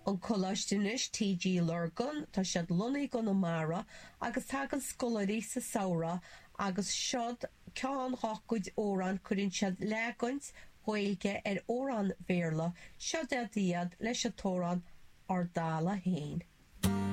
An coláiste anois, TG Lurgan, tá siad lonnaithe i gConamara agus tagann scoláirí sa samhradh agus seod ceann dhá gcuid amhrán, cuireann siad leagan Gaeilge ar amhrán Bhéarla, seod iad leis an t-amhrán Ár dTalamh Féin.